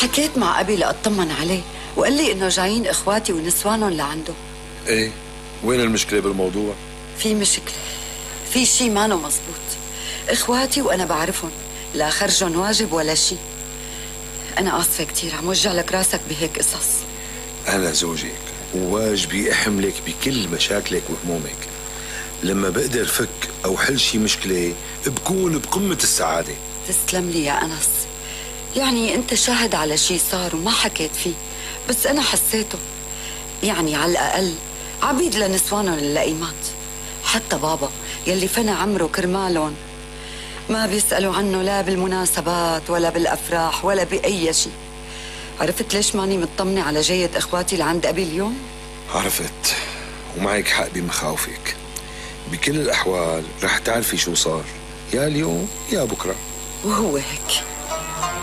حكيت مع أبي لأطمن عليه وقال لي إنه جايين إخواتي ونسوانهم لعنده. إيه، وين المشكلة بالموضوع؟ في مشكلة، في شي مانو مزبوط. إخواتي وأنا بعرفهم، لا خرجهم واجب ولا شي. أنا آسفة كتير عم وجع لك راسك بهيك قصص. أنا زوجك وواجبي أحملك بكل مشاكلك وهمومك. لما بقدر فك أو حل شي مشكلة بكون بقمة السعادة. تسلم لي يا أنس. يعني أنت شاهد على شي صار وما حكيت فيه، بس أنا حسيته. يعني على الأقل عبيد لنسوانهم اللئيمات. حتى بابا يلي فنى عمره كرمالهم ما بيسألوا عنه لا بالمناسبات ولا بالأفراح ولا بأي شيء. عرفت ليش ماني مطمنة على جية إخواتي لعند أبي اليوم؟ عرفت، ومعك حق بمخاوفك. بكل الأحوال رح تعرفي شو صار، يا اليوم يا بكرة. وهو هيك.